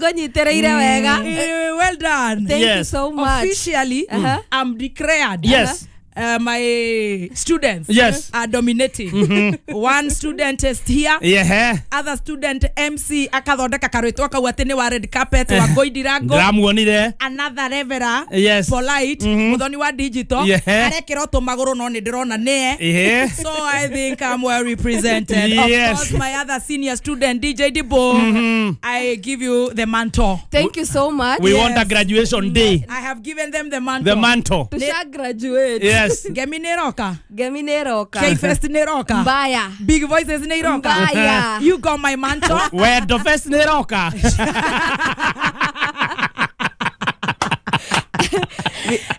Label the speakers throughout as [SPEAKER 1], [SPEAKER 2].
[SPEAKER 1] Ngũnyitĩrĩire wega.
[SPEAKER 2] Well done.
[SPEAKER 1] Thank you so much.
[SPEAKER 2] Officially, I'm declared.
[SPEAKER 3] Yes.
[SPEAKER 2] My students are dominating. One student is here.
[SPEAKER 3] Yeah.
[SPEAKER 2] Other student MC akathondeka karwitwa kau ati ni wa red carpet wa Ngoindirango.
[SPEAKER 3] Ndĩramuonire.
[SPEAKER 2] Another reverer.
[SPEAKER 3] Yes.
[SPEAKER 2] Polite. Muthoni wa digital. Arekĩra tũmagũrũ no nĩ ndĩrona nĩe. So I think I'm well represented.
[SPEAKER 3] Yes.
[SPEAKER 2] Of course, my other senior student DJ Dibo. I give you the mantle.
[SPEAKER 1] Thank you so much.
[SPEAKER 3] We want a graduation day.
[SPEAKER 2] I have given them the mantle.
[SPEAKER 3] The mantle.
[SPEAKER 1] Tusha graduate.
[SPEAKER 3] Yes.
[SPEAKER 2] Ngemi nĩ ĩroka.
[SPEAKER 1] Ngemi nĩ ĩroka.
[SPEAKER 2] K-Fest nĩ ĩroka.
[SPEAKER 1] Mbaya.
[SPEAKER 2] Big Voices nĩ ĩroka.
[SPEAKER 1] Mbaya.
[SPEAKER 2] You got my mantle.
[SPEAKER 3] Wendo Fest nĩ ĩroka.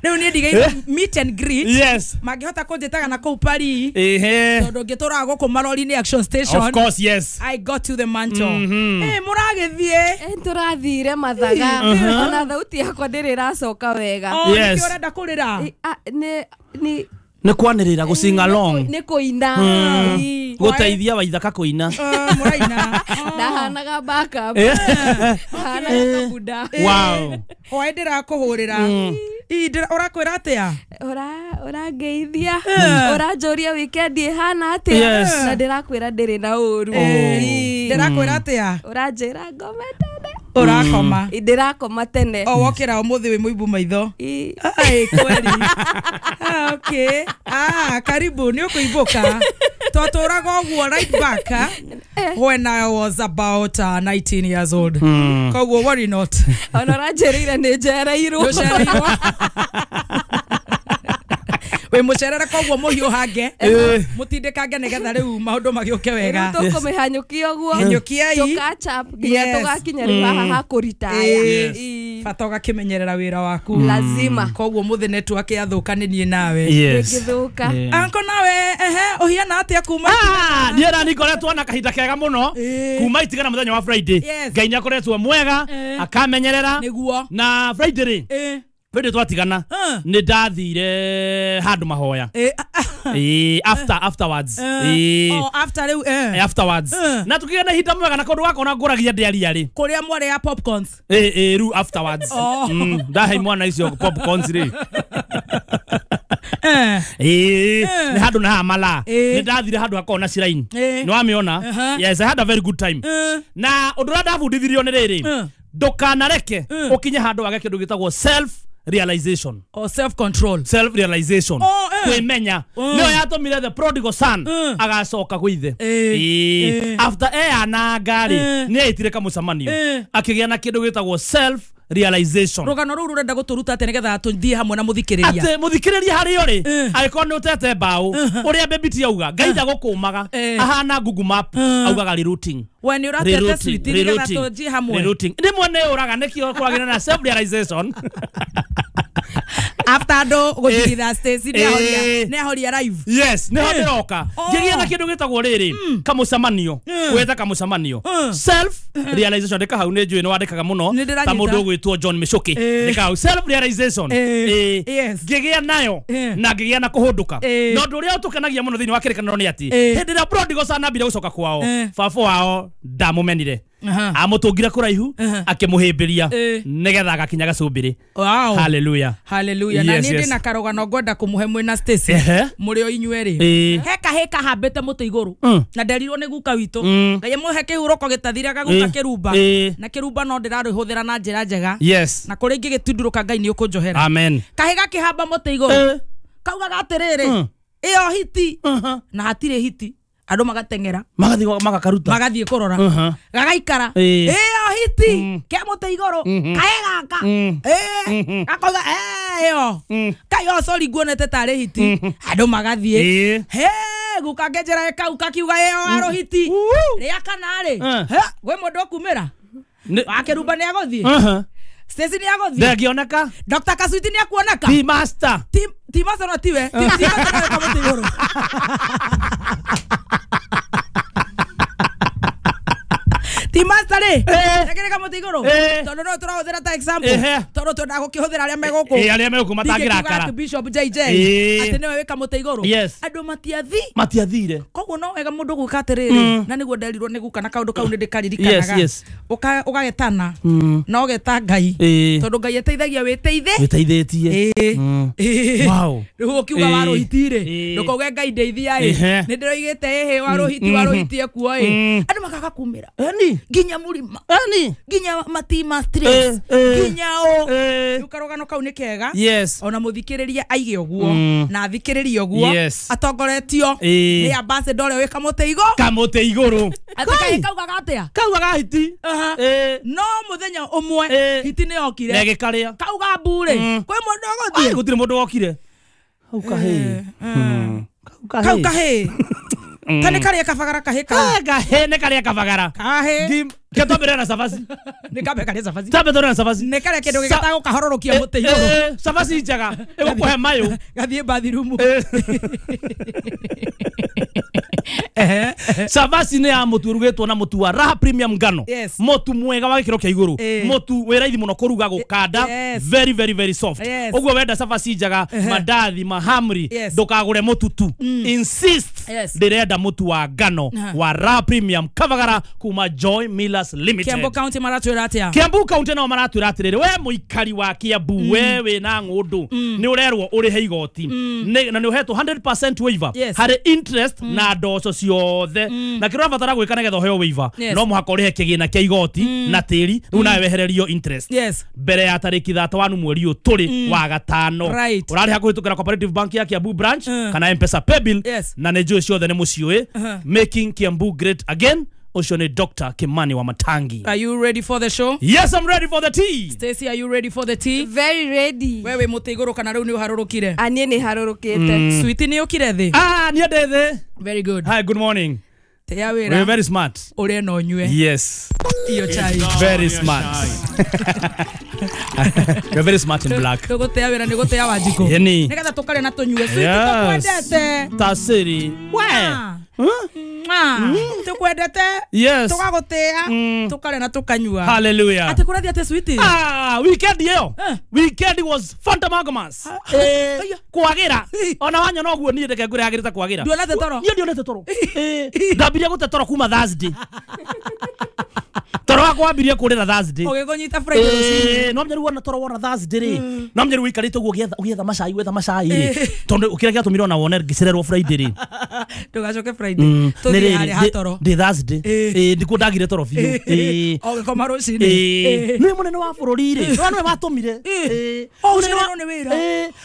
[SPEAKER 2] Rĩu niĩ ndigaire meet and greet.
[SPEAKER 3] Yes.
[SPEAKER 2] Mangĩhota kũnjĩtaga na kũu Paris.
[SPEAKER 3] Ehe.
[SPEAKER 2] Tondũ ngĩtũraga gũkũ marori-inĩ Action Station.
[SPEAKER 3] Of course, yes.
[SPEAKER 2] I got to the mantle. Mũragĩthiĩ.
[SPEAKER 1] Tũrathire mathaga. Ona thauti yakwa ndĩrĩ ĩracoka wega.
[SPEAKER 2] Oh,
[SPEAKER 3] Yes.
[SPEAKER 2] nĩkĩo ũrenda kũrĩra?
[SPEAKER 3] Nĩ kwanĩrĩra gũ sing along.
[SPEAKER 1] Nĩ kũina.
[SPEAKER 3] Gũteithia Waithaka kũina.
[SPEAKER 2] Mũraina.
[SPEAKER 1] Ndahanaga backup. Ndahanaga kabuda.
[SPEAKER 3] Wow.
[SPEAKER 2] Hwaĩ ndĩrakũhũrĩra. Ũrakwĩra atĩa?
[SPEAKER 1] Ũrangeithia. Ũranjũria weekend ĩhana atĩa?
[SPEAKER 3] Yes.
[SPEAKER 1] Na ndĩrakwĩra ndĩrĩ na ũru.
[SPEAKER 2] Ndĩrakwĩra atĩa?
[SPEAKER 1] Ũranjĩra ngome tene.
[SPEAKER 2] Ũrakoma.
[SPEAKER 1] Ndĩrakoma tene.
[SPEAKER 2] O wokĩra ũmũthĩ wĩ mũimbu maitho. Ai kweli. Okay. Karibu nĩ ũkũimbũka. Twatũraga ũguo right back when I was about 19 years old. Koguo worry not.
[SPEAKER 1] Ona ũranjĩrĩire nĩ njereirwo.
[SPEAKER 2] Nĩũcereirwo. Wĩ mũcerere koguo mũhiũhange. Mũtindĩkange nĩgetha rĩu maũndũ magĩũke wega.
[SPEAKER 1] Rĩu tũkũmĩhanyũkia ũguo.
[SPEAKER 2] Hanyũkiai.
[SPEAKER 1] Tũ catch up nginya tũgakinya rĩu haha ha kũritaya.
[SPEAKER 2] Bata ũgakĩmenyerera wĩra waku.
[SPEAKER 1] Lazima.
[SPEAKER 2] Koguo mũthĩ network yathũka nĩ niĩ nawe.
[SPEAKER 1] Ndĩngĩthũka.
[SPEAKER 2] Anko nawe ehe ũhiana atĩa kuma?
[SPEAKER 3] Niĩ na nĩngoretwo na kahinda kega mũno kuma itigana mũthenya wa Friday. Ngai nĩakoretwo mwega akamenyerera.
[SPEAKER 2] Nĩguo.
[SPEAKER 3] Na Friday rĩ Friday twatigana nĩ ndathire handũ mahoya. Afterwards.
[SPEAKER 2] Oh, after rĩu
[SPEAKER 3] Afterwards. Na tukigĩa na ihinda mwega na kũndũ gakona ngũragia ndĩaria rĩ.
[SPEAKER 2] Kũrĩa mwarĩ ya popcorns.
[SPEAKER 3] Rĩu afterwards. Ndahe mwana icio popcorns rĩ. Nĩ handũ na haha mala. Nĩ ndathire handũ hakoragwo na shrine. Nĩ wamĩona? Yes, I had a very good time. Na ũndũ ũrĩa ndabundithirio nĩ rĩrĩ. Ndũkanareke ũkinye handũ wage kĩndũ gĩtagwo self realization
[SPEAKER 2] or self control.
[SPEAKER 3] Self realization. Kwĩmenya. Nĩyo yatũmire the prodigal son agacoka gwĩ ithe. After eyananga rĩ nĩ eitire kamũcemanio akĩgĩa na kĩndũ gĩtagwo self realization.
[SPEAKER 2] Rũgano rũu rũrenda gũtũruta atĩa nĩgetha tũthiĩ hamwe na mũthikĩrĩria?
[SPEAKER 3] Atĩ mũthikĩrĩria harĩo rĩ angĩkorwo nĩ ũtete mbaũ ũrĩa Baby auga Ngai ndagũkũmaga ahana Google Map augaga rerouting.
[SPEAKER 2] We nĩ ũratete sweet nĩgetha tũthiĩ hamwe.
[SPEAKER 3] Rerouting. Rĩmwe nĩ ũraga nĩkĩo kwagĩra na self realization.
[SPEAKER 2] After andũ gũthigitha Stacy nĩ ahoria live.
[SPEAKER 3] Yes, nĩho ndĩroka. Ngĩgĩa na kĩndũ gĩtagwo rĩrĩ kamũcemanio. Gwetha kamũcemanio. Self realization ndĩka hau nĩ njũĩ nĩ wandĩkaga mũno ta mũndũ ũgwĩtwo John Michuki. Ndĩka hau self realization. Ngĩgĩa nayo na ngĩgĩa na kũhũndũka. Na ũndũ ũrĩa ũtũkenagia mũno thĩinĩ wa kĩrĩkanĩro nĩ atĩ hĩndĩ ĩrĩa prodigal son ambire gũcoka kwao baba wao ndamũmenire. Amũtũngire kũraihu akĩmũhĩmbĩria nĩgetha agakinya gacũmbĩrĩ.
[SPEAKER 2] Wow.
[SPEAKER 3] Hallelujah.
[SPEAKER 2] Hallelujah. Na niĩ ndĩna karũgano ngwenda kũmũhe mwĩna Stacy mũrĩ o inyuerĩ. He kahĩ kahambĩte mũtĩ igũrũ na nderirwo nĩ guka witũ. Ngai mũhe kĩhurũko gĩtathiraga guka kĩrumba. Na kĩrumba no ndĩrarĩhũthĩra na njĩra njega.
[SPEAKER 3] Yes.
[SPEAKER 2] Na kũrĩa ingĩgĩtundurũka Ngai nĩ ũkũnjohera.
[SPEAKER 3] Amen.
[SPEAKER 2] Kahĩ gakĩhamba mũtĩ igũrũ kaugaga atĩrĩrĩ ĩyo hiti na hatirĩ hiti. Andũ magateng'era
[SPEAKER 3] magathiĩ magakaruta
[SPEAKER 2] magathiĩ kũrora gagaikara ĩyo hiti ke mũtĩ igũrũ kaĩ gaka gakoiga ĩyo kai sorry nguonete tarĩ hiti andũ magathiĩ he guka ngenjera kau kakiuga ĩyo aro hiti rĩa kana rĩ gwĩ mũndũ ũkumĩra wakĩrumba nĩ agũthiĩ Stacy nĩ agũthiĩ
[SPEAKER 3] ndangĩoneka
[SPEAKER 2] Dr. Kasuiti nĩ akuoneka
[SPEAKER 3] T master
[SPEAKER 2] T master no tiwe T master no kamũtĩ igũrũ. T master Pastor rĩ rekere kamũtĩ igũrũ tondũ no tũrahũthĩra ta example tondũ twendaga gũkĩhũthĩra arĩa megũkũ
[SPEAKER 3] arĩa megũkũ matangĩrakara
[SPEAKER 2] Bishop JJ atĩ nĩwe wĩ kamũtĩ igũrũ andũ matiathire koguo no wega mũndũ gwĩka atĩrĩrĩ na nĩguo nderirwo nĩ guka na kaũndũ kau nĩ ndĩkaririkanaga ũgagetana na ũgeta Ngai tondũ Ngai ateithagia wĩteithe
[SPEAKER 3] wĩteithĩtie. Wow.
[SPEAKER 2] Rĩu ũkiuga warũhiti rĩ ndũkauge Ngai ndeithia ĩ nĩ ndĩroigĩte ĩhĩ warũhiti ekuo ĩ andũ makaga kumĩra nginya mũrima nginya matima stress nginya ũ rĩu karũgano kau nĩ kega ona mũthikĩrĩria aige ũguo na athikĩrĩrie ũguo atongoretio nĩ ambassador ũrĩa wĩ kamũtĩ
[SPEAKER 3] igũrũ
[SPEAKER 2] atĩ kaugaga atĩa
[SPEAKER 3] kaugaga hiti
[SPEAKER 2] no mũthenya ũmwe hiti nĩ yokire
[SPEAKER 3] na ĩgĩkarĩa
[SPEAKER 2] kauga mbu rĩ kwĩ mũndũ ũgũthiĩ
[SPEAKER 3] gũtirĩ mũndũ wokire kau kahĩ
[SPEAKER 2] kau kahĩ ta nĩ karĩa kabagara kahĩ kau
[SPEAKER 3] kahĩ nĩ karĩa kabagara
[SPEAKER 2] kahĩ
[SPEAKER 3] ke twambĩrĩre na cabaci
[SPEAKER 2] nĩ kambe karĩa cabaci
[SPEAKER 3] twambe twambĩrĩre na cabaci
[SPEAKER 2] nĩ karĩa kĩndũ gĩgĩtagwo kahororokia mũtĩ igũrũ
[SPEAKER 3] cabaci njega ĩgũkũhe mayũ
[SPEAKER 2] gathiĩ bathirumu
[SPEAKER 3] cabaci nĩ ya mũtu ũrugĩtwo na mũtu wa Raha Premium ngano mũtu mwega wa gĩkĩro kĩa igũrũ mũtu wĩ raithi mũno kũruga gũkanda very very very soft ũguo wenda cabaci njega mandathi mahamri ndũkagũre mũtu tu insist ndĩrenda mũtu wa ngano wa Raha Premium kabagara kuma Joy Millers Limited.
[SPEAKER 2] Kiambu County maratwĩra atĩa?
[SPEAKER 3] Kiambu County nao maratwĩra atĩrĩrĩ we mũikari wa Kiambu we wĩna ng'ũndũ nĩ ũrerwo ũrĩhe igoti na nĩ ũhetwo 100% waiver harĩ interest na ndoco ciothe na kĩrĩa ũrabatara gwĩka nĩgetha ũheo waiver no mũhaka ũrĩhe kĩgĩna kĩa igoti na tĩri rĩu nawe wehererio interest mbere ya tarĩki 31 mweri ũyũ tũrĩ wa gatano ũrarĩha kũhĩtũkĩra Cooperative Bank ya Kiambu branch kana M-Pesa paybill na nĩ njũĩ ciothe nĩ mũciũĩ making Kiambu great again. Ũcio nĩ Dr. Kimani wa Matangi.
[SPEAKER 2] Are you ready for the show?
[SPEAKER 3] Yes, I'm ready for the tea.
[SPEAKER 2] Stacy, are you ready for the tea?
[SPEAKER 1] Very ready.
[SPEAKER 2] Wewe mũtĩ igũrũ kana rĩu nĩ ũharũrũkire?
[SPEAKER 1] Niĩ nĩ harũrũkĩte.
[SPEAKER 2] Sweetie nĩ ũkire thĩ?
[SPEAKER 3] Niĩ ndĩ thĩ.
[SPEAKER 2] Very good.
[SPEAKER 3] Hi, good morning.
[SPEAKER 2] Tĩa wĩra.
[SPEAKER 3] We're very smart.
[SPEAKER 2] Ũrĩe na ũnyue.
[SPEAKER 3] Yes.
[SPEAKER 2] Iyo chai.
[SPEAKER 3] Very smart. You're very smart in black.
[SPEAKER 2] Tũgũtĩa wĩra nĩ gũtĩa Wanjikũ. Nĩgetha tũkarĩa na tũnyue. Sweetie tũkwendete.
[SPEAKER 3] Tasiri. We.
[SPEAKER 2] Tukwendete tugagutia tukarĩa na tukanyua.
[SPEAKER 3] Hallelujah.
[SPEAKER 2] Atĩ kũrathiĩ atĩ sweetie?
[SPEAKER 3] Weekend ĩyo weekend was fantamagamas kwagĩra ona wanyona ũguo niĩ ndeke ngwĩre yagĩrĩte kwagĩra
[SPEAKER 2] ndionete toro
[SPEAKER 3] niĩ ndionete toro ndambirie gũte toro kuma Thursday toro wakwa wambirie kũrĩra Thursday
[SPEAKER 2] ũgĩkũnyita Friday rũcinĩ
[SPEAKER 3] no mnyaru wona toro wona Thursday rĩ no mnyaru wikarĩte ũguo ũgĩetha macai wetha macai rĩ tondũ kĩrĩa gĩatũmire ona wone ngĩcererwo Friday rĩ
[SPEAKER 2] ndũgacoke Friday tũthiĩ harĩa ha toro
[SPEAKER 3] ndĩ Thursday ndikuo ndagire toro biũ
[SPEAKER 2] ũgĩkoma rũcinĩ
[SPEAKER 3] nĩ mũnene wa bũrũri rĩ no nĩwe watũmire
[SPEAKER 2] ũcio nĩ wĩra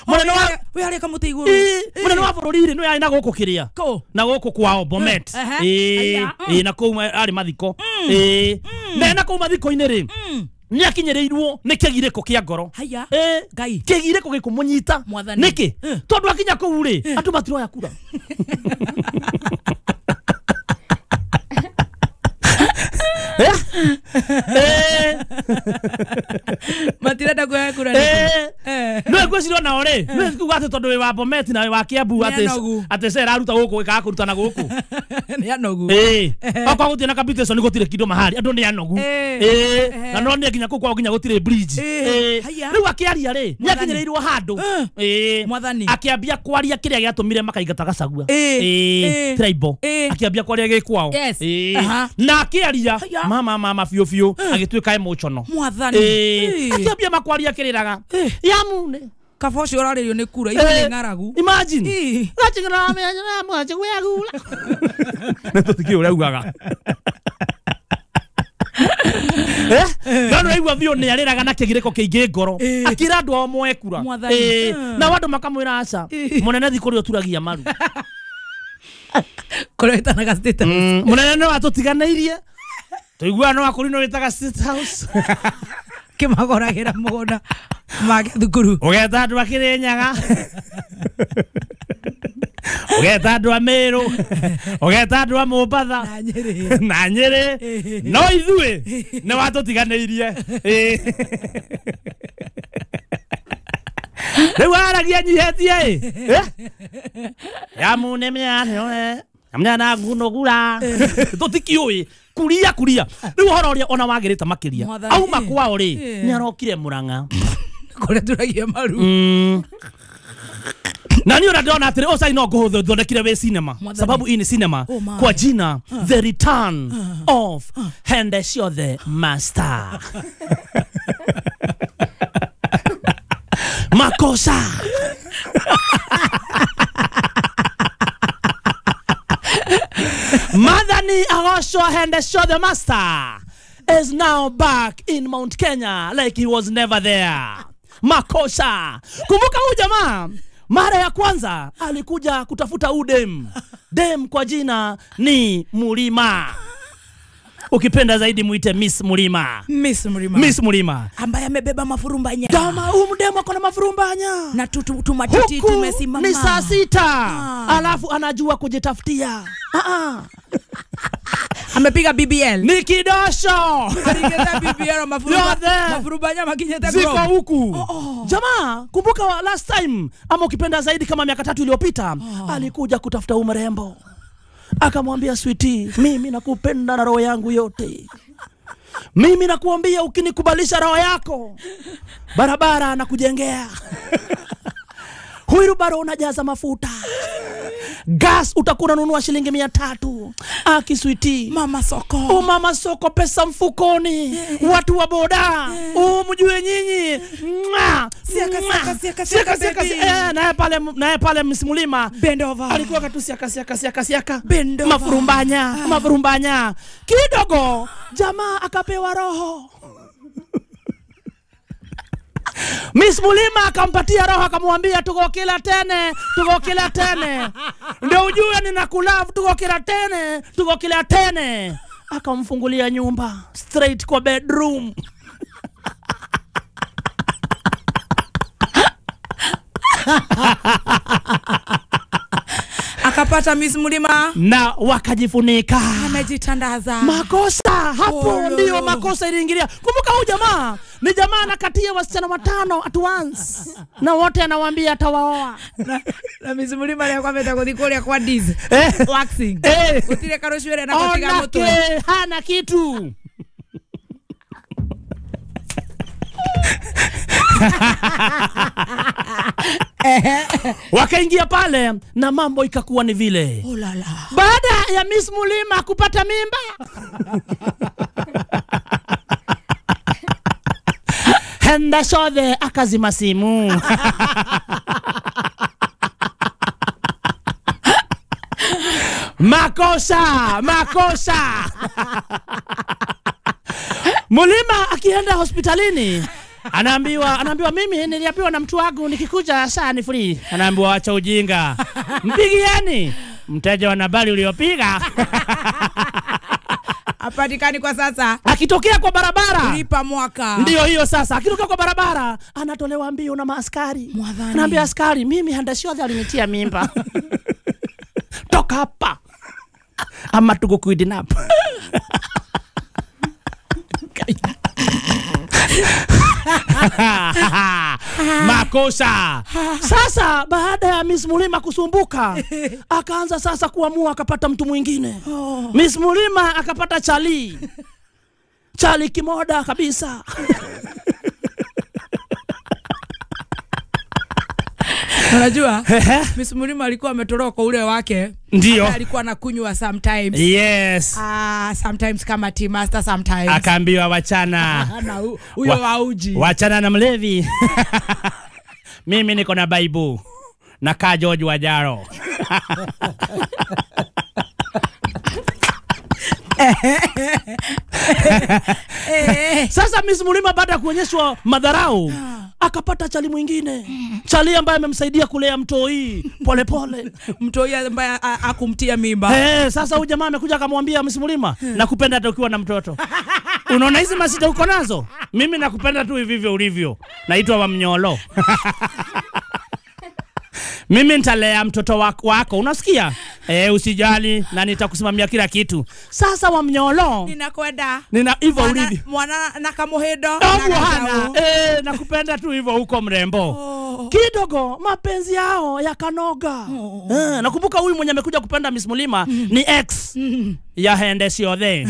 [SPEAKER 3] mũnene wa
[SPEAKER 2] wĩ harĩa kamũtĩ igũrũ
[SPEAKER 3] mũnene wa bũrũri rĩ nĩwe arĩ na gũkũ kĩrĩa na gũkũ kwao Bomet na kũu arĩ mathiko na kũu mathiko-inĩ rĩ nĩ akinyĩrĩirwo nĩ kĩgirĩko kĩa ngoro
[SPEAKER 2] Ngai
[SPEAKER 3] kĩgirĩko gĩkũmũnyita nĩkĩ tondũ akinya kũu rĩ andũ matiroya kura
[SPEAKER 2] matirenda kuoya kura
[SPEAKER 3] nĩwe ngwĩciria onao rĩ nĩwe kuga atĩ tondũ wĩ wa Bomet na wĩ wa Kiambu atĩ ce ĩraruta gũkũ ĩkaga kũruta na gũkũ
[SPEAKER 2] nĩ anogu
[SPEAKER 3] okorwo gũtirĩ na capitation gũtirĩ kĩndũ mahari andũ nĩ anogu na no nĩ nginya kũu kwao nginya gũtirĩ bridge rĩu akĩaria rĩ nĩ akinyĩrĩirwo handũ akĩambia kwaria kĩrĩa gĩatũmire makaingata Gachagua tribal akĩambia kwaria gĩ kwao na akĩaria mama biũ biũ agĩtuĩka emotional
[SPEAKER 2] mwathani
[SPEAKER 3] akĩambia makwaria kĩrĩraga yamune
[SPEAKER 2] kaba ũcio ũrarĩrio nĩ kura ithuĩ nĩ ng'aragu
[SPEAKER 3] imagine nĩ tũtikĩũĩ ũrĩa augaga no nĩ ũraigua biũ nĩ arĩraga na kĩgirĩko kĩingĩ ngoro akĩra andũ ao moe kura nao andũ makamwĩra aca mũnene thi kũrĩa ũturagia maru
[SPEAKER 2] kũrĩa wĩtanaga State House
[SPEAKER 3] mũnene nĩ watũtiganĩirie tũiguaga no akũri no wĩtaga State House
[SPEAKER 2] kĩmagũragĩra mũgũnda make thukuru
[SPEAKER 3] ũgeta andũ a Kĩrĩnyaga ũgeta andũ a Meru ũgeta andũ a Mombatha na Nyĩrĩ no ithuĩ nĩ watũtiganĩirie rĩu aragia nyihetie ĩ yamune mĩanyo amnyana ngunogura tũtikĩũĩ Kuria kuria. Riu horo ria ona wagirite makiria. Auma kwao ri ni arokire Murang'a.
[SPEAKER 2] Kuria turagia maru.
[SPEAKER 3] Na ni ndona atiri osai no nguthondekire we cinema. Sababu hii ni cinema kwa jina The Return of Hende Ciothe Master. Makosa. Madhani Agosho Hende Ciothe Master is now back in Mount Kenya like he was never there. Makosa. Kumbuka huyu jamaa mara ya kwanza alikuja kutafuta udem. Dem kwa jina ni Mulima. Ukipenda zaidi muite Miss Mulima.
[SPEAKER 2] Miss Mulima.
[SPEAKER 3] Miss Mulima.
[SPEAKER 2] Ambaye amebeba mafurumbanya.
[SPEAKER 3] Dama huyu mdemu akona mafurumbanya.
[SPEAKER 2] Na tumatiti tumesimama.
[SPEAKER 3] Ni saa 6. Alafu anajua kujitafutia.
[SPEAKER 2] Amepiga BBL.
[SPEAKER 3] Ni kidosho.
[SPEAKER 2] Aligeza BBL mafurumbanya makinyeta
[SPEAKER 3] grow. Ziko huku. Jamaa, kumbuka last time ama ukipenda zaidi kama miaka 3 iliyopita, alikuja kutafuta umrembo. Akamwambia sweetie, mimi nakupenda na roho yangu yote. Mimi nakuambia ukinikubalisha roho yako, barabara nakujengea. Huirubaro unajaza mafuta. Gas utakuwa unanunua shilingi 300. Aki sweetie.
[SPEAKER 2] Mama soko.
[SPEAKER 3] Oh mama soko, pesa mfukoni. Watu wa boda. Oh mjue nyinyi.
[SPEAKER 2] Siaka siaka siaka siaka siaka.
[SPEAKER 3] Naye pale Miss Mulima.
[SPEAKER 2] Bend over.
[SPEAKER 3] Alikuwa katu siaka siaka siaka siaka.
[SPEAKER 2] Bend over.
[SPEAKER 3] Mafurumbanya, mafurumbanya. Kidogo jamaa akapewa roho. Miss Mulima akampatia roho akamwambia tuko kila tene, tuko kila tene. Ndio ujue ninakulove, tuko kila tene, tuko kila tene. Akamfungulia nyumba straight kwa bedroom.
[SPEAKER 2] Akapata Miss Mulima
[SPEAKER 3] na wakajifunika.
[SPEAKER 2] Amejitandaza.
[SPEAKER 3] Makosa hapo ndio makosa iliingilia. Kumbuka huyu jamaa ni jamaa anakatia wasichana 5 at once. Na wote anawaambia atawaoa.
[SPEAKER 2] Na Miss Mulima alikuwa ameenda kuthikuria kwa Diz. Waxing. Utire karushwere na kutiga mutwe.
[SPEAKER 3] Hana kitu. Wakaingia pale na mambo ikakuwa ni vile.
[SPEAKER 2] Oh la la.
[SPEAKER 3] Baada ya Miss Mulima kupata mimba, Hende Ciothe akazima simu. Makosa, makosa. Mulima akienda hospitalini anaambiwa mimi niliambiwa na mtu wangu nikikuja saa ni free. Anaambiwa acha ujinga. Mpigieni mteja wa nambari uliopiga.
[SPEAKER 2] Hapatikani kwa sasa.
[SPEAKER 3] Akitokea kwa barabara
[SPEAKER 2] lipa mwaka.
[SPEAKER 3] Ndio hiyo sasa. Akitokea kwa barabara anatolewa mbio na maaskari. Anaambia askari mimi Hende Ciothe alinitia mimba. Toka hapa. Ama tukukidnap. Makosa. Sasa baada ya Miss Mulima kusumbuka, akaanza sasa kuamua akapata mtu mwingine. Miss Mulima akapata Chali. Chali kimoda kabisa.
[SPEAKER 2] Unajua Miss Mulima alikuwa ametoroka ule wake.
[SPEAKER 3] Ndio.
[SPEAKER 2] Alikuwa anakunywa sometimes.
[SPEAKER 3] Yes.
[SPEAKER 2] Sometimes kama tea master sometimes.
[SPEAKER 3] Akaambiwa wachana.
[SPEAKER 2] Na huyo wauji.
[SPEAKER 3] Wachana na mlevi. Mimi niko na Bible. Na ka George Wajaro. Sasa Miss Mulima baada ya kuonyeshwa madharau akapata chali mwingine. Chali ambaye amemsaidia kulea mtoi pole pole.
[SPEAKER 2] Mtoi ambaye akumtia mimba.
[SPEAKER 3] Sasa huyu jamaa amekuja akamwambia Miss Mulima, nakupenda hata ukiwa na mtoto. Unaona hizi masida uko nazo? Mimi nakupenda tu hivi hivyo ulivyo. Naitwa Wamnyolo. Mimi nitalea mtoto wako, unasikia? Usijali na nitakusimamia kila kitu. Sasa Wamnyolo,
[SPEAKER 2] ninakwenda.
[SPEAKER 3] Nina hivyo ulivyo.
[SPEAKER 2] Mwana na kamuhedo.
[SPEAKER 3] Nakupenda tu hivyo huko mrembo. Kidogo mapenzi yao yakanoga. Nakumbuka huyu mwenye amekuja kupenda Miss Mulima ni ex ya Hende Ciothe.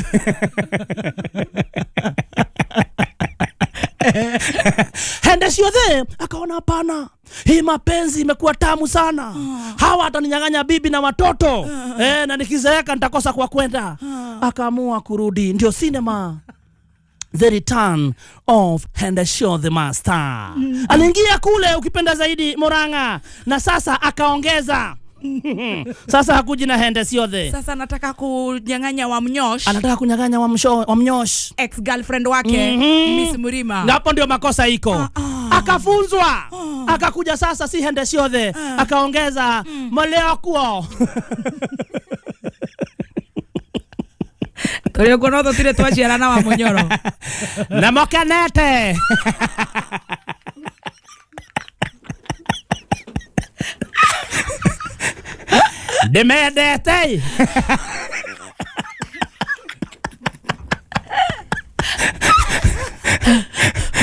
[SPEAKER 3] Hende Ciothe akaona hapana, hii mapenzi imekuwa tamu sana. Hawa ataninyang'anya bibi na watoto. Na nikizeeka nitakosa kwa kwenda. Akaamua kurudi. Ndio cinema The Return of Hende Ciothe Master. Aliingia kule ukipenda zaidi Murang'a, na sasa akaongeza. Sasa hakuji na Hende Ciothe.
[SPEAKER 2] Sasa anataka kunyang'anya wa Mnyosh.
[SPEAKER 3] Anataka kunyang'anya wa Mnyosh,
[SPEAKER 2] ex girlfriend wake Miss Murima.
[SPEAKER 3] Na hapo ndio makosa iko. Akafunzwa. Akakuja sasa si Hende Ciothe, akaongeza Moleo kuo.
[SPEAKER 2] Turi kuona tutire twaciarana wa Munyoro.
[SPEAKER 3] Na mokenete. Ndimendete.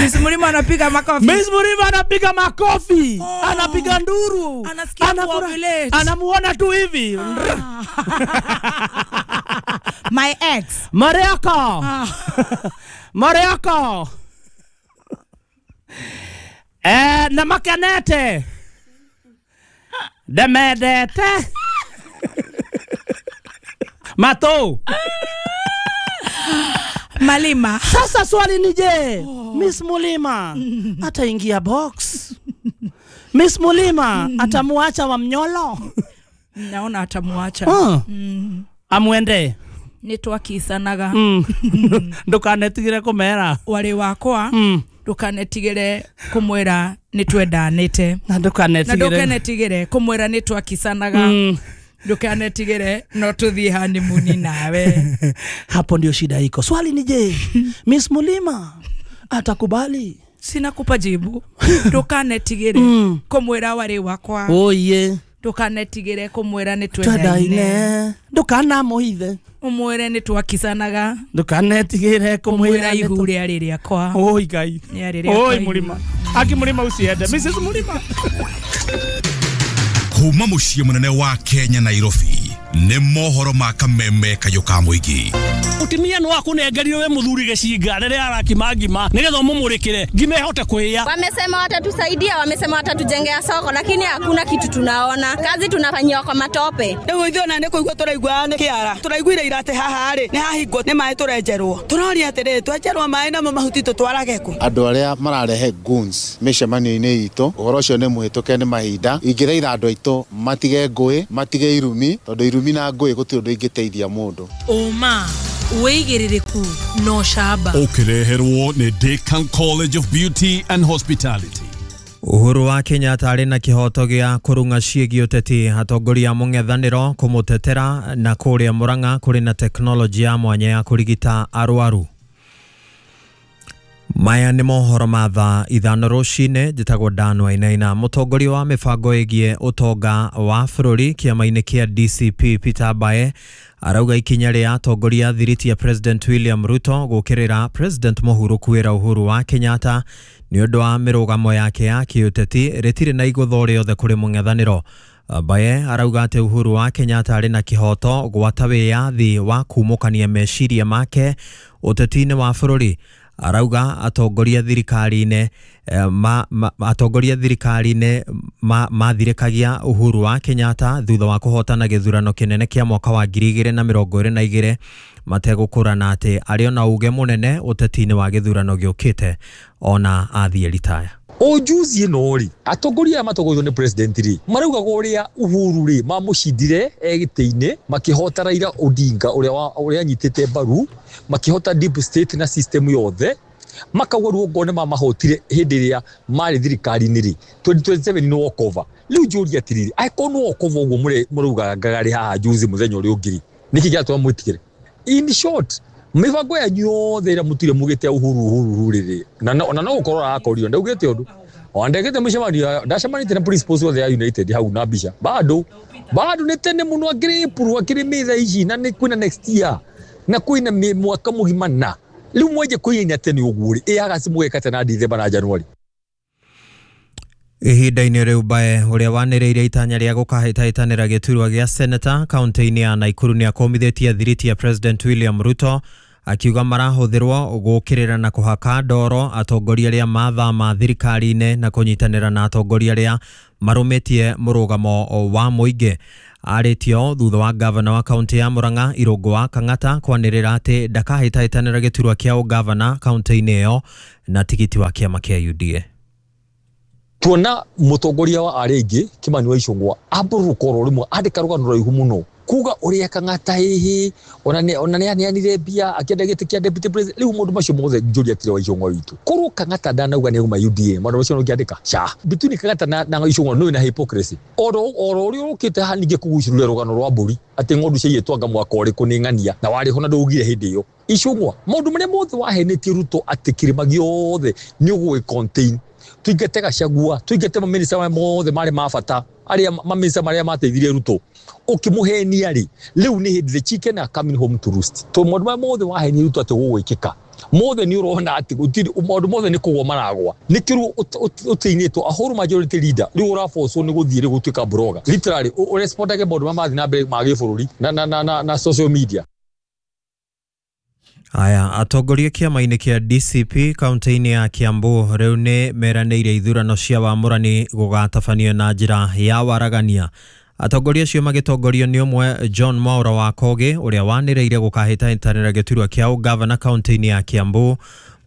[SPEAKER 2] Miss Murima anapiga makofi.
[SPEAKER 3] Miss Murima anapiga makofi. Anapiga nduru.
[SPEAKER 2] Anasikia kuovulate.
[SPEAKER 3] Anamuona tu hivi.
[SPEAKER 2] My ex.
[SPEAKER 3] Mariako. Mariako. Na makanete. Demedete. Mato.
[SPEAKER 2] Malima.
[SPEAKER 3] Sasa swali ni je, Miss Mulima ataingia box? Miss Mulima atamuacha wa Mnyolo?
[SPEAKER 2] Naona atamuacha.
[SPEAKER 3] Amuende.
[SPEAKER 2] Nitwakisanaga.
[SPEAKER 3] Ndukanetigire kumera.
[SPEAKER 2] Wari wakwa. Ndukanetigire kumwira nitwendanite.
[SPEAKER 3] Na ndukanetigire
[SPEAKER 2] kumwira nitwakisanaga. Ndukanetigire no tuthie honeymoon nawe.
[SPEAKER 3] Hapo ndio shida iko. Swali ni je, Miss Mulima atakubali?
[SPEAKER 2] Sina kupa jibu. Ndukanetigire kumwira wari wakwa.
[SPEAKER 3] Oye.
[SPEAKER 2] Ndukanetigire kumwira nitwendaine.
[SPEAKER 3] Ndukanamuhithe.
[SPEAKER 2] Umwire nitwakisanaga.
[SPEAKER 3] Ndukanetigire kumwira
[SPEAKER 2] ihu rĩarĩ rĩakwa.
[SPEAKER 3] Oi Ngai. Oi Mulima. Aki Mulima usiende. Mrs Mulima.
[SPEAKER 4] Kuma muciĩ mũnene wa Kenya Nairobi nĩ mohoro ma kameme kayũ ka mũingĩ.
[SPEAKER 3] Utimia no akunengerire we muthuri gicinga riria arakima ngima nigetha umumurikire ngima ihote kuhia.
[SPEAKER 1] Wamesema watatusaidia, wamesema watatujengea soko, lakini hakuna kitu tunaona. Kazi tunafanyiwa kwa matope.
[SPEAKER 5] Riu ithuĩ ona nĩ kũigua tũraigua nĩ kĩara. Tũraiguire ira atĩ haha rĩ nĩ hahingwo nĩ maĩ tũrenjerwo. Tũroria atĩrĩrĩ twenjerwo maĩ namo mahuti tũtwarage kũ?
[SPEAKER 6] Andũ arĩa mararehe goons mĩcemanio-inĩ itũ, ũhoro ũcio nĩ mũhĩtũke nĩ mahinda. Ingĩthaitha andũ aitũ matige ngũĩ, matige irumi, tondũ irumi na ngũĩ gũtirĩ ũndũ ingĩteithia mũndũ.
[SPEAKER 2] Ũma wĩigĩrĩrĩku no shaba.
[SPEAKER 4] Ũkĩreherwo nĩ Decan College of Beauty and Hospitality.
[SPEAKER 7] Uhuru wa Kenyatta arĩ na kĩhoto gĩa kũrung'a ciĩgiĩ ũteti, atongoria mũng'ethanĩro kũmũtetera, na kũrĩa Murang'a kũrĩ na teknolojĩ ya mwanya ya kũrigita arwaru. Maya nĩ mohoro ma thaa 5 rũcinĩ. Njĩtagwo Dan Wainaina. Mũtongoria wa mĩbango ĩgiĩ ũtonga wa bũrũri kĩama-inĩ kĩa DCP Peter Mbae arauga ikinya rĩa atongoria thiriti ya President William Ruto gũkĩrĩra President Mũhuru kwĩra Uhuru wa Kenyatta nĩ ũndũ wa mĩrũgamo yake ya kĩũteti rĩtirĩ na igũtho rĩothe kũrĩ mũng'ethanĩro. Mbae arauga atĩ Uhuru wa Kenyatta arĩ na kĩhoto gwata wĩyathi wa kumũkania meciria make ũteti-inĩ wa bũrũri. Arauga atongoria thirikari-inĩ mathirĩkagia Uhuru wa Kenyatta thutha wa kũhotana gĩthurano kĩnene kĩa mwaka wa 2022 mategũkũrana atĩ arĩ ona uge mũnene ũteti-inĩ wa gĩthurano gĩũkĩte ona athiĩ ritaya.
[SPEAKER 8] O juzi ĩno rĩ, atongoria aya matongoretio nĩ president rĩ, maraugaga ũrĩa Uhuru rĩ mamũcindire gĩtĩ-inĩ, makĩhota Raila Odinga ũrĩa anyitĩte mbaru, makĩhota deep state na system yothe, makauga rĩu okorwo nĩ mamahotire hĩndĩ ĩrĩa marĩ thirikari-inĩ rĩ, 2027 nĩ walkover. Rĩu njũrie atĩrĩrĩ, angĩkorwo nĩ walkover ũguo mũraugaga rĩ haha juzi mũthenya ũrĩa ũngĩ rĩ, nĩkĩ kĩratũma mwĩtigĩre? In short, mibango yanyu yothe ĩrĩa mũtire mugĩte Uhuru Uhuru rĩrĩ, na no gũkorwo arakorio ndaugĩte ũndũ ona ndekĩte mũcemanio, ndacemanĩtie na principals othe ya United hau na mbica bado nĩ tene mũno, akĩrĩ April akĩrĩ May thaa ici, na nĩ kwĩna next year na kwĩna mwaka mũgima, na rĩu mwenje kũiyaina tene ũguo rĩ, ĩ August mũgeka tena December na January.
[SPEAKER 7] Ihinda-inĩ rĩu Mbae ũrĩa wanĩrĩire itanya rĩa gũkahĩtahĩtanĩra gĩturwa gĩa seneta kaunti-inĩ ya Nakuru nĩ akomithĩtie thiriti ya President William Ruto akiuga marahũthĩrwo gũkĩrĩra na kũhaka ndoro atongoria arĩa mathama thirikari-inĩ na kũnyitanĩra na atongoria arĩa marũmĩtie mũrũgamo wa mũingĩ. Arĩtio thutha wa gavana wa kaunti ya Murang'a Irũngũ wa Kang'ata kwanĩrĩra atĩ ndakahĩtahĩtanĩra gĩturwa kĩa ũgavana kaunti-inĩ ĩyo na tigiti wa kĩama kĩa UDA.
[SPEAKER 8] Tuona mutongoria wa arĩa aingĩ Kimani wa Ichung'wa ambũrũka oro rĩmwe andĩka rũgano rũraihu mũno kuga ũrĩa Kang'ata hihi ona nĩ aneanire mbia akĩenda gĩtĩ kĩa deputy president. Rĩu maũndũ macio mothe njũria atĩrĩ wa Ichung'wa witũ, korwo Kang'ata ndanauga nĩ auma UDA maũndũ macio ũngĩandĩka ca between Kang'ata na Ichung'wa nĩ na hypocrisy oro ũrĩa ũkĩte haha ningĩ kũgucĩrĩria rũgano rwa mbũri atĩ ng'ondu ciaiyĩtwo anga mwaka ũrĩkũ nĩ ng'ania na warĩ ho na ndũugire hĩndĩ ĩyo. Ichung'wa maũndũ marĩa mothe wahenĩtie Ruto atĩ kĩrĩma gĩothe nĩ ũgũgĩ contain, tuingate Gachagua, tuingate maminista marĩa mothe marĩ ma bata arĩa maminista marĩa mateithirie Ruto ũkĩmũhenia rĩ, rĩu nĩ hĩndĩ the chicken are coming home to roost. To maũndũ marĩa mothe wahenia Ruto atĩ gũgwĩkĩka mothe nĩ ũrona atĩ gũtirĩ maũndũ mothe nĩ kũgwa maragwa. Nĩkĩo ũtĩinĩtwo a whole majority leader rĩu ũrabocwo nĩ gũthiĩ rĩ gũtuĩka broga literally ũrespondage maũndũ marĩa marathiĩ na mbere ma gĩbũrũri na social media.
[SPEAKER 7] Aya, atongoria kĩama-inĩ kĩa DCP kaunti-inĩ ya Kiambu rĩu nĩ meranĩire ithurano cia wamũrani gũgatabanio na njĩra ya waragania. Atongoria acio magĩtongorio nĩ ũmwe John Mwaura wa Kogi ũrĩa wanĩrĩire gũkahĩtahĩtanĩra gĩturwa kĩa ũgavana kaunti-inĩ ya Kiambu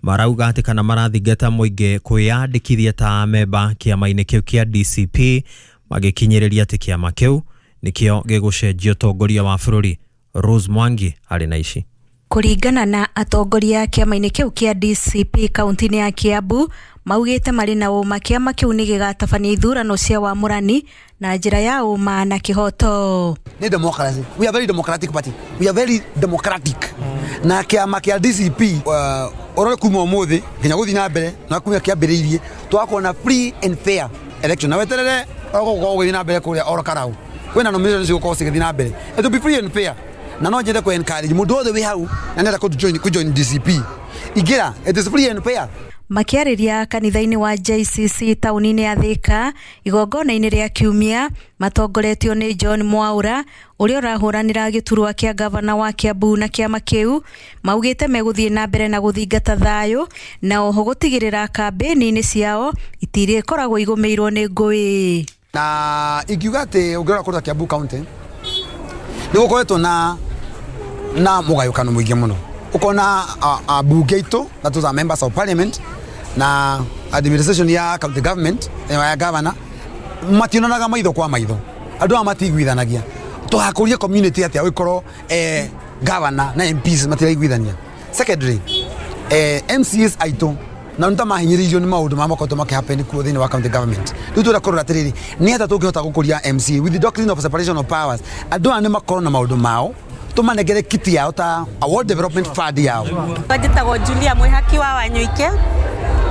[SPEAKER 7] marauga atĩ kana marathingata mũingĩ kwĩyandĩkithia ta amemba kĩama-inĩ kĩu kĩa DCP magĩkinyĩrĩria atĩ kĩama kĩu nĩkĩo gĩgũcenjia ũtongoria wa bũrũri. Rose Mwangi arĩ na ici.
[SPEAKER 9] Kũringana na atongoria kĩama-inĩ kĩu kĩa DCP kaunti-inĩ ya Kiambu maugĩte marĩ na ũma kĩama kĩu nĩ gĩgatabania ithurano cia wamũrani na njĩra ya ũma na kĩhoto.
[SPEAKER 10] Nĩ democracy. We are very democratic party. We are very democratic. Na kĩama kĩa DCP ũrore kuma ũmũthĩ nginya gũthiĩ na mbere na kuma kĩambĩrĩirie twakorwo na free and fair election. Na weterere ũgũkorwo ũgĩthiĩ na mbere kũrĩa oro karau. Kwĩna nomination cigũkorwo cigĩthiĩ na mbere. It will be free and fair. Na no njende ku encourage mundu wothe wi hau na nenda ku join DCP ingira, it is free and fair.
[SPEAKER 9] Makiarĩria kanitha-inĩ wa JCC taũni-inĩ ya Thika igongona-inĩ rĩa kiumia matongoretio nĩ John Mwaura ũrĩa ũrahũranĩra gĩturwa kĩa gavana wa Kiambu na kĩama kĩu maugĩte megũthiĩ na mbere na gũthingata thayũ na oho gũtigĩrĩra kambĩni-inĩ ciao itirĩkoragwo igũmĩirwo nĩ ngũĩ.
[SPEAKER 10] Na ingiuga atĩ ũngĩrora kũrĩa Kiambu County nĩ gũkoretwo na mũgayũkano mũingĩ mũno, ukona abunge aitũ that was our members of parliament na administration ya county government ya governor mationanaga maitho kwa maitho, andũ aya matiguithanagia. Tũgakũria community atĩa ũgĩkorwo governor na MPs matiraiguithania. Secondary, MCAs aitũ na nĩ ta mahinyĩrĩirio nĩ maũndũ marĩa makoretwo makĩhappen kuo thĩinĩ wa county government. Rĩu tũrenda kũrora atĩrĩrĩ, nĩ atĩa tũngĩhota gũkũria MCA with the doctrine of separation of powers, andũ aya nĩ makorwo na maũndũ mao tũmanengere kiti yao ta World Development Fund yao.
[SPEAKER 11] Njĩtagwo Julia Mwĩhaki wa Wanyuike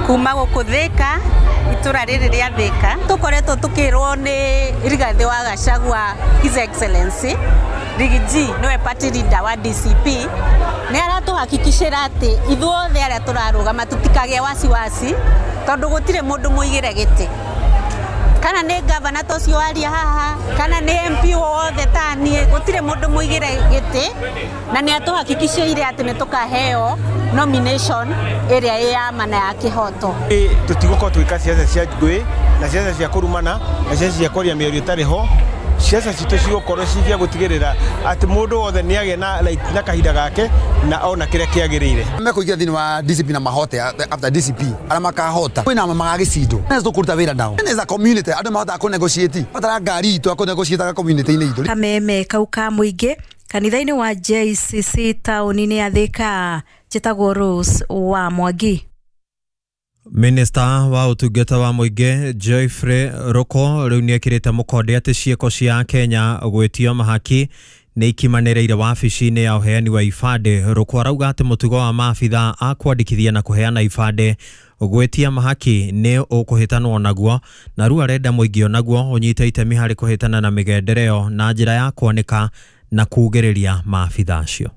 [SPEAKER 11] kuma gũkũ Thika, itũra rĩrĩ rĩa Thika. Tũkoretwo tũkĩrwo nĩ Rigathĩ wa Gachagua His Excellency Riggy G nĩwe party leader wa DCP nĩ aratũhakikicĩra atĩ ithuothe arĩa tũrarũgama tũtikagĩe wasiwasi tondũ gũtirĩ mũndũ mũigĩre gĩtĩ, kana nĩ gavana ta ũcio waria haha kana nĩ MP wothe ta niĩ, gũtirĩ mũndũ mũigĩre gĩtĩ, na nĩ atũhakikicĩire atĩ nĩ tũkaheo nomination ĩrĩa ĩ ya ma na ya kĩhoto.
[SPEAKER 12] Tũtigũkorwo tũgĩka ciaca cia ngũĩ na ciaca cia kũrumana na ciaca cia kwaria mĩario ĩtarĩ ho. Ciaca citũ cigũkorwo ci cia gũtigĩrĩra atĩ mũndũ wothe nĩ agĩa na kahinda gake na ona kĩrĩa kĩagĩrĩire.
[SPEAKER 10] Mekũingĩra thĩinĩ wa DCP na mahote after DCP arĩa makahota kwĩna magagĩcindwo na tũkũruta wĩra nao. As a community andũ mahotaga kũ negotiate batara ngari itũ akũ negotiate community-inĩ itũ.
[SPEAKER 9] Kameme kau ka mũingĩ kanitha-inĩ wa JCC taũni-inĩ ya Thika. Njĩtagwo Rose wa Mwangi.
[SPEAKER 7] Minista wa ũtungata wa mũingĩ Geoffrey Ruko rĩu nĩekĩrĩte mũkonde atĩ ciĩko cia Kenya gwĩtio mahaki nĩ ikimanĩrĩire wabici-inĩ ya ũheani wa ibandĩ. Ruko arauga atĩ mũtugo wa maabitha a kwandĩkithia na kũheana ibandĩ gwĩtia mahaki nĩ ũkũhĩtanwo naguo, na rĩu arenda mũingĩ onaguo ũnyite itemi harĩ kũhĩtana na mĩgendere ĩyo na njĩra ya kwanĩka na kugĩrĩria maabitha acio.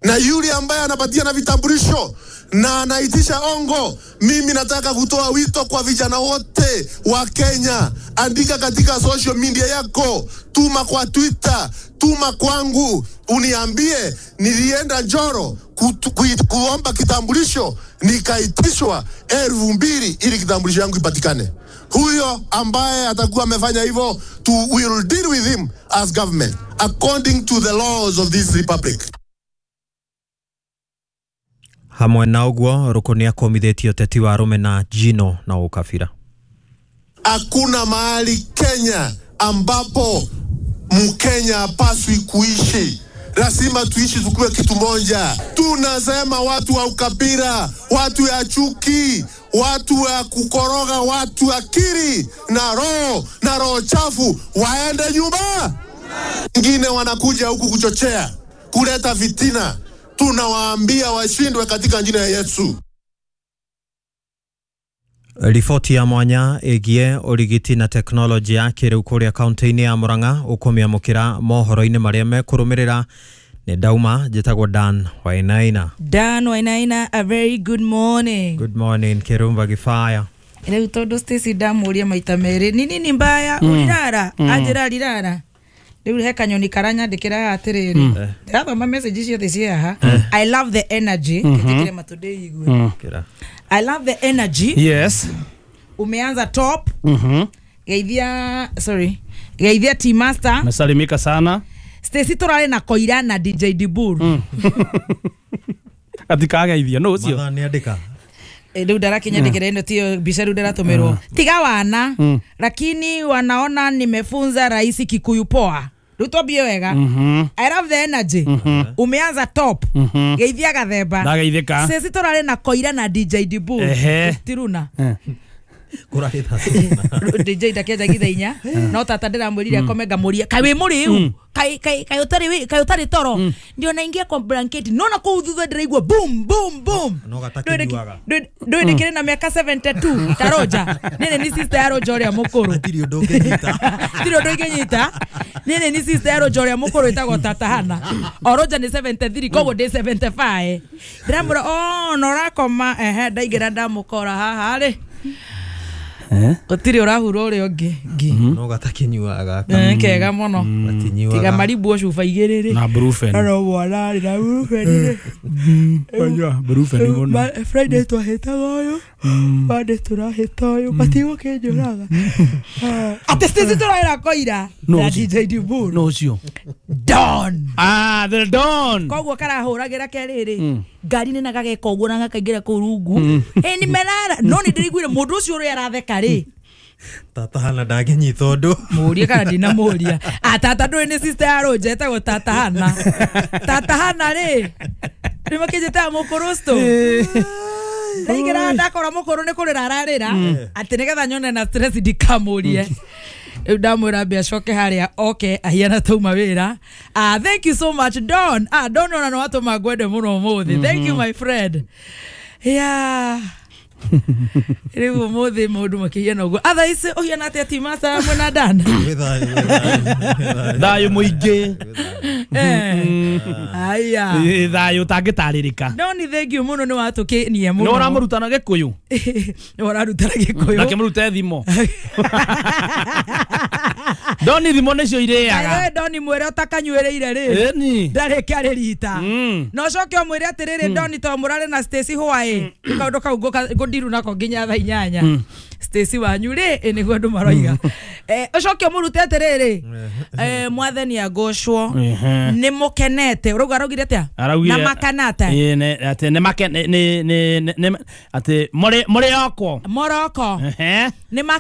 [SPEAKER 13] Na yule ambaye anapatia na vitambulisho na anaitisha ongo, mimi nataka kutoa wito kwa vijana wote wa Kenya, andika katika social media yako, tuma kwa Twitter, tuma kwangu, uniambie nilienda Njoro kuomba kitambulisho nikaitishwa 2000 ili kitambulisho yangu ipatikane. Huyo ambaye atakuwa amefanya hivyo, we will deal with him as government according to the laws of this republic.
[SPEAKER 7] Hamwe na uguo Ruku ni akomithĩtie ũteti wa rũmena njino na ũkabira.
[SPEAKER 13] Hakuna mahali Kenya ambapo Mkenya hapaswi kuishi. Lazima tuishi tukiwa kitu moja. Tunasema watu wa ukabila, watu ya chuki, watu wa kukoroga, watu akili na roho chafu waende nyumba. Wengine wanakuja huku kuchochea, kuleta fitina. Tunawaambia washindwe katika jina ya Yesu.
[SPEAKER 7] Riboti ya mwanya ĩgiĩ ũrigiti na teknolojĩ ya kĩrĩu kũrĩa kaunti-inĩ ya Murang'a ũkũmĩamũkĩra mohoro-inĩ marĩa mekũrũmĩrĩra. Nĩ ndauma, njĩtagwo Dan Wainaina.
[SPEAKER 2] Dan Wainaina, a very good morning.
[SPEAKER 7] Good morning Kirumba Gifaya.
[SPEAKER 2] Rĩu tondũ Stacy ndamũria maita merĩ ni nini mbaya ũrirara anjĩra rirara. Rĩu he kanyoni karanyandĩkĩra atĩrĩrĩ, ndĩrathoma message ciothe ciĩ haha. I love the energy. Kĩnjĩkĩre matũ ndĩigue. I love the energy.
[SPEAKER 3] Yes.
[SPEAKER 2] Umeanza top. Geithia, sorry. Geithia Team Master.
[SPEAKER 3] Nasalimika sana.
[SPEAKER 2] Stacy turare na Koira na DJ Dibur.
[SPEAKER 3] Atikageithia no ucio.
[SPEAKER 7] Mathaa nĩandĩka.
[SPEAKER 2] Rĩu ndarakinyandĩkĩra ĩno tiyo mbica rĩu ndĩratũmĩrwo. Tiga wana, lakini wanaona nimefunza rahisi Kikuyu poa. Rĩu twambie wega. I love the energy. Umeanza top. Geithia Gathemba.
[SPEAKER 3] Ndageithĩka.
[SPEAKER 2] Sisi turare na Koira na DJ Dibur. Tiruna. DJ ndakianjagia thaa inya no tata ndiramwĩrire akome ngamũria kaĩ wĩ mũrĩu kai kai kai ũtarĩ kai ũtarĩ toro ndio naingia kwa blanketi nona kũu thutha ndĩraigua boom boom boom
[SPEAKER 7] no gatakinyuaga
[SPEAKER 2] ndũĩ ndĩkĩrĩ na mĩaka 72 ta Roger nĩnĩ ni sister ya Roger ũrĩa mũkũrũ
[SPEAKER 7] hatirĩ ũndũ ũngĩnyita
[SPEAKER 2] tirĩ ũndũ ingĩnyita nĩnĩ ni sister ya Roger ũrĩa mũkũrũ ĩtagwo Tata Hana o Roger nĩ 73 koguo ndĩ 75 ndĩramwĩra oh no ũrakoma ehe ndaingĩra ndamũkora haha rĩ gũtirĩ ũrahura ũrĩa ũngĩ ngi
[SPEAKER 7] no gatakinyuaga
[SPEAKER 2] kega mũno tiga maribwo cuba igĩrĩ rĩ
[SPEAKER 3] na brufen
[SPEAKER 2] no mwana rĩ na brufen rĩ
[SPEAKER 3] banyua brufen mũno
[SPEAKER 2] Friday twahĩtaga ũyũ Monday tũrahĩta ũyũ matigũkĩnjũraga atĩ Stacy tũraĩra Koira na DJ Dibur
[SPEAKER 3] no ũcio
[SPEAKER 2] Don
[SPEAKER 3] ah the Don
[SPEAKER 2] koguo karahũragĩra kerĩrĩ ngari-inĩ na gageka ũguo na gakaingĩra kũu rungu ĩ nimerara no nĩ ndĩraiguire mũndũ ũcio ũrĩa aratheka rĩ
[SPEAKER 7] Tata Hana ndangĩnyita ũndũ
[SPEAKER 2] mũrie kana ndinamũria tata ndũĩ nĩ sister ya Roger etagwo Tata Hana Tata Hana rĩ nĩ makĩnjĩtaga mũkũrũstũ ndaingĩra ndakora mũkũrũ nĩ kũrĩra ararĩra atĩ nĩgetha nyone na stress ndikamũrie rĩu ndamwĩra ambe acoke harĩa oke ahiana tauma wĩra. Thank you so much Don. Don ona nĩ watũma ngwende mũno ũmũthĩ. Thank you my friend. Yeah. Rĩu ũmũthĩ maũndũ makĩhiana ũguo. Thaa ici ũhiana atĩa Team Master mwena Dan?
[SPEAKER 3] Thayũ mũingĩ.
[SPEAKER 2] Aya.
[SPEAKER 3] Thayũ ũtangĩtarĩrĩka.
[SPEAKER 2] No nĩ thank you mũno nĩ watũkenia mũno.
[SPEAKER 3] Nĩ ũramũrutana Gĩkũyũ?
[SPEAKER 2] Nĩ ũrarutana Gĩkũyũ.
[SPEAKER 3] Nakĩmũrute thimo. Doni thimo nĩcio irĩaga.
[SPEAKER 2] Doni mwĩre ũtakanyuĩrĩire rĩ. Ndarĩ kĩarĩ rita. Na ũcoke ũmwĩre atĩrĩrĩ Doni to mũrare na Stacy hwaĩ. Kaũndũ kau ngũndiru nako nginya thaa inyanya. Stacy wanyu rĩ nĩguo andũ maroiga. Ũcoke ũmũrute atĩrĩrĩ mwathani agocwo nĩ mũkenete. Ũrauga araugire atĩa? Na makanata.
[SPEAKER 3] Atĩ nĩ atĩ mũrĩ oko.
[SPEAKER 2] Moroko. Nĩ